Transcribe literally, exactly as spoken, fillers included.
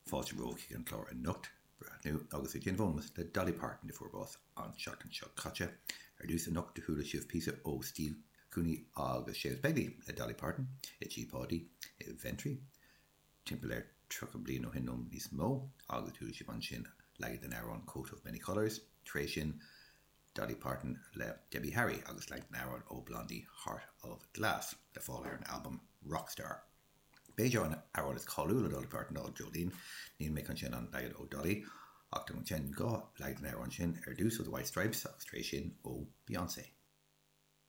Fáilte romhaibh chuig an clár anocht breathnú agus ag déanamh ómós le Dolly Parton a fuair bás an seachtain seo caite. Ar dtús anocht do chuala sibh píosa ó Steve Cooney agus Séamus Begley le Dolly Parton i dTigh Pháidí i Ventry. Timpeall ar tríocha bliain ó shin nó níos mó agus chuala sibh ansin leagan den amhrán Coat of Many Colors, tar éis sin Dolly Parton le Debbie Harry agus leagan den amhrán ó Blondie Heart of Glass le fáil ar an album Rockstar. B'fhéidir an amhrán is cáiliúla Dolly Parton ná Jolene, níl mé chun sin an leagan ó Dolly, ach tá sin dhá leagan den amhrán sin ar dtús ó The White Stripes agus tar éis sin ó Beyoncé.